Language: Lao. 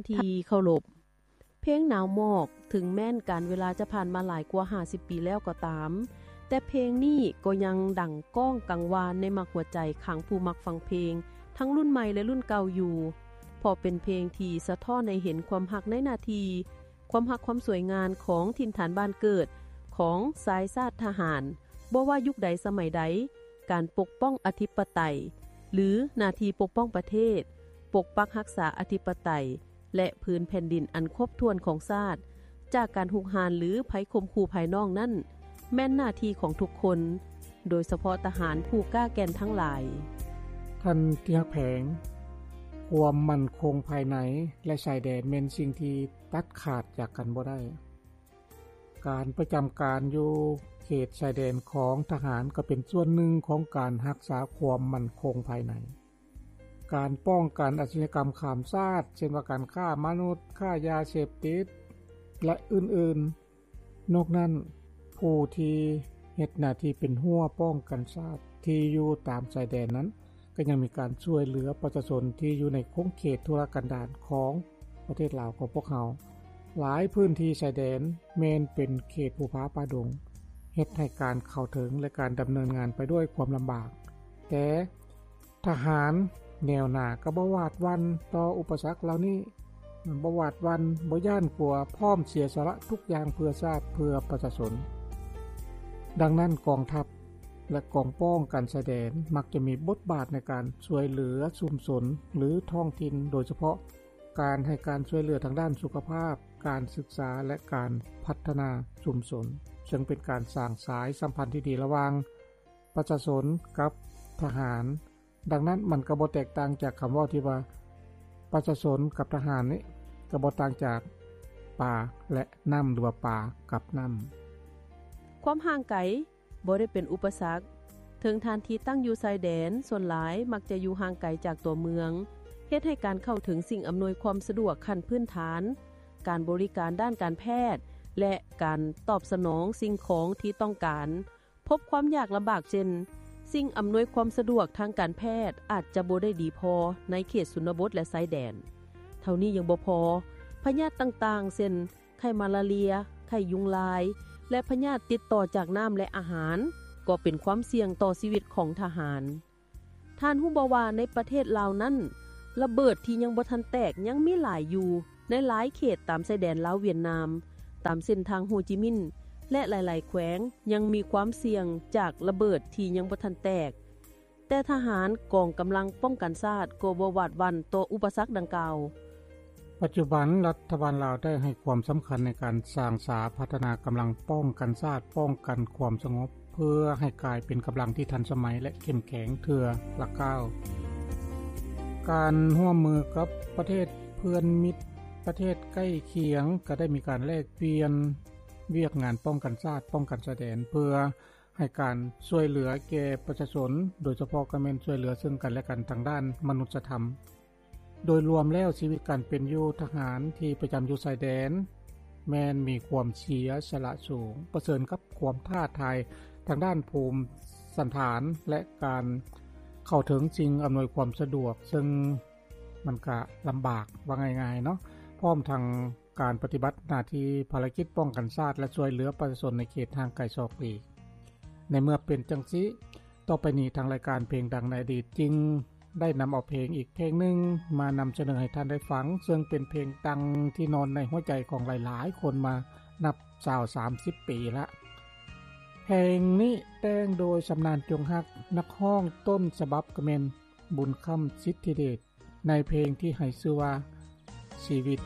ທີ່ເຄົາລົບ, ເພງໜາວໝອກ ເຖິງແມ່ນການເວລາຈະຜ່ານມາຫຼາຍກວ່າຫ້າສິບປີແລ້ວກໍຕາມ, ແຕ່ເພງນີ້ກໍຍັງດັງກ້ອງກັງວານໃນໝາກຫົວໃຈຂອງຜູ້ມັກຟັງເພງ ທັງລຸ້ນໃໝ່ ແລະ ລຸ້ນເກົ່າຢູ່, ເພາະເປັນເພງທີ່ສະທ້ອນໃຫ້ເຫັນຄວາມຮັກໃນໜ້າທີ່, ຄວາມຮັກຄວາມສວຍງາມຂອງຖິ່ນຖານບ້ານເກີດຂອງຊາຍຊາດທະຫານ, ບໍ່ວ່າຍຸກໃດສະໄໝໃດ, ການປົກປ້ອງອະທິປະໄຕ ຫຼື ໜ້າທີ່ປົກປ້ອງປະເທດ, ປົກປັກຮັກສາອະທິປະໄຕ ແລະ ພື້ນແຜ່ນດິນອັນຄົບຖ້ວນຂອງຊາດ ຈາກການຮຸກຮານ ຫຼື ໄພຂົ່ມຂູ່ພາຍນອກນັ້ນ ແມ່ນໜ້າທີ່ຂອງທຸກຄົນ, ໂດຍສະເພາະທະຫານຜູ້ກ້າແກ່ນທັງຫຼາຍ. ທ່ານທີ່ຮັກແພງ, ຄວາມໝັ້ນຄົງພາຍໃນ ແລະ ຊາຍແດນແມ່ນສິ່ງທີ່ຕັດຂາດຈາກກັນບໍ່ໄດ້. ການປະຈຳການຢູ່ເຂດຊາຍແດນຂອງທະຫານກໍເປັນສ່ວນໜຶ່ງຂອງການຮັກສາຄວາມໝັ້ນຄົງພາຍໃນ. ການປ້ອງກັນອາຊະຍາກຳຂ້າມຊາດ, ເຊັ່ນວ່າການຄ້າມະນຸດ, ຄ້າຢາເສບຕິດ ແລະ ອື່ນໆ. ນອກນັ້ນ, ຜູ້ທີ່ເຮັດໜ້າທີ່ເປັນຮົ້ວປ້ອງກັນຊາດທີ່ຢູ່ຕາມຊາຍແດນນັ້ນ ກໍຍັງມີການຊ່ວຍເຫຼືອປະຊາຊົນທີ່ຢູ່ໃນຂົງເຂດທຸລະກັນດານຂອງປະເທດລາວຂອງພວກເຮົາ. ຫຼາຍພື້ນທີ່ຊາຍແດນແມ່ນເປັນເຂດພູຜາປ່າດົງ, ເຮັດໃຫ້ການເຂົ້າເຖິງ ແລະ ການດຳເນີນງານໄປດ້ວຍຄວາມລຳບາກ. ແຕ່ ທະຫານແນວໜ້າກໍບໍ່ຫວາດຫວັ່ນຕໍ່ອຸປະສັກເຫຼົ່ານີ້, ບໍ່ຫວາດຫວັ່ນ, ບໍ່ຢ້ານກົວ, ພ້ອມເສຍສະຫຼະທຸກຢ່າງເພື່ອຊາດ, ເພື່ອປະຊາຊົນ. ດັ່ງນັ້ນ, ກອງທັບ ແລະ ກອງປ້ອງກັນຊາຍແດນມັກຈະມີບົດບາດໃນການຊ່ວຍເຫຼືອຊຸມຊົນ ຫຼື ທ້ອງຖິ່ນ, ໂດຍສະເພາະການໃຫ້ການຊ່ວຍເຫຼືອທາງດ້ານສຸຂະພາບ, ການສຶກສາ ແລະ ການພັດທະນາຊຸມຊົນ, ເຊິ່ງເປັນການສ້າງສາຍສຳພັນທີ່ດີລະຫວ່າງ ປະຊາຊົນກັບທະຫານ. ດັ່ງນັ້ນ, ມັນກໍບໍ່ແຕກຕ່າງຈາກຄຳເວົ້າທີ່ວ່າ ປະຊາຊົນກັບທະຫານນີ້ ກໍບໍ່ຕ່າງຈາກປາ ແລະ ນ້ຳ ຫຼືວ່າປາກັບນ້ຳ. ຄວາມຫ່າງໄກບໍ່ໄດ້ເປັນອຸປະສັກ. ເຖິງທ່ານທີ່ຕັ້ງຢູ່ຊາຍແດນ, ສ່ວນຫຼາຍມັກຈະຢູ່ຫ່າງໄກຈາກຕົວເມືອງ, ເຮັດໃຫ້ການເຂົ້າເຖິງສິ່ງອຳນວຍຄວາມສະດວກຂັ້ນພື້ນຖານ, ການບໍລິການດ້ານການແພດ ແລະ ການຕອບສະໜອງສິ່ງຂອງທີ່ຕ້ອງການ ພົບຄວາມຍາກລຳບາກ ເຊັ່ນ ສິ່ງອຳນວຍຄວາມສະດວກທາງການແພດອາດຈະບໍ່ໄດ້ດີພໍໃນເຂດຊົນນະບົດ ແລະ ຊາຍແດນ. ເທົ່ານີ້ຍັງບໍ່ພໍ, ພະຍາດຕ່າງໆ ເຊັ່ນ ໄຂ້ມາລາເຣຍ, ໄຂ້ຍຸງລາຍ ແລະ ພະຍາດຕິດຕໍ່ຈາກນ້ຳ ແລະ ອາຫານ ກໍເປັນຄວາມສ່ຽງຕໍ່ຊີວິດຂອງທະຫານ. ທ່ານຮູ້ບໍ່ວ່າໃນປະເທດລາວນັ້ນ ລະເບີດທີ່ຍັງບໍ່ທັນແຕກຍັງມີຫຼາຍຢູ່ໃນຫຼາຍເຂດຕາມຊາຍແດນລາວຫວຽດນາມ, ຕາມເສັ້ນທາງໂຮຈິມິນ ແລະ ຫຼາຍໆແຂວງຍັງມີຄວາມສ່ຽງຈາກລະເບີດທີ່ຍັງບໍ່ທັນແຕກ, ແຕ່ທະຫານກອງກຳລັງປ້ອງກັນຊາດກໍບໍ່ຫວາດຫວັ່ນຕໍ່ອຸປະສັກດັ່ງກ່າວ. ປັດຈຸບັນ, ລັດຖະບານລາວໄດ້ໃຫ້ຄວາມສຳຄັນໃນການສ້າງສາພັດທະນາກຳລັງປ້ອງກັນຊາດ, ປ້ອງກັນຄວາມສະຫງົບ ເພື່ອໃຫ້ກາຍເປັນກຳລັງທີ່ທັນສະໄໝ ແລະ ເຂັ້ມແຂງເທື່ອລະກ້າວ. ການຮ່ວມມືກັບປະເທດເພື່ອນມິດ, ປະເທດໃກ້ຄຽງ ກໍໄດ້ມີການແລກປ່ຽນວຽກງານປ້ອງກັນຊາດ, ປ້ອງກັນຊາຍແດນ ເພື່ອໃຫ້ການຊ່ວຍເຫຼືອແກ່ປະຊາຊົນ, ໂດຍສະເພາະກໍແມ່ນຊ່ວຍເຫຼືອເຊິ່ງກັນ ແລະ ກັນທາງດ້ານມະນຸດສະທຳ. ໂດຍລວມແລ້ວ, ຊີວິດການເປັນຢູ່ທະຫານທີ່ປະຈຳຢູ່ຊາຍແດນ ແມ່ນມີຄວາມເສຍສະຫຼະສູງ, ປະເຊີນກັບຄວາມທ້າທາຍທາງດ້ານພູມສັນຖານ ແລະ ການເຂົ້າເຖິງສິ່ງອຳນວຍຄວາມສະດວກ, ເຊິ່ງມັນກະລຳບາກ, ວ່າງ່າຍໆເນາະ, ພ້ອມທັງການປະຕິບັດໜ້າທີ່ພາລະກິດປ້ອງກັນຊາດ ແລະ ຊ່ວຍເຫຼືອປະຊາຊົນໃນເຂດຫ່າງໄກສອກຫຼີກ. ໃນເມື່ອເປັນຈັ່ງຊີ້, ຕໍ່ໄປນີ້ທາງລາຍການເພງດັງໃນອະດີດຈຶ່ງ ໄດ້ນຳເອົາເພງອີກເພງໜຶ່ງມານຳສະເໜີໃຫ້ທ່ານໄດ້ຟັງ, ເຊິ່ງເປັນເພງດັງທີ່ນອນໃນຫົວໃຈຂອງຫຼາຍໆຄົນມານັບຊາວສາມສິບປີລະ. ເພງນີ້ແຕ່ງໂດຍຊຳນານ ຈົງຮັກ, ນັກຮ້ອງຕົ້ນສະບັບກໍແມ່ນ ບຸນຄຳ ສິດທິເດດ, ໃນເພງທີ່ໃຫ້ຊື່ວ່າ ຊີວິດ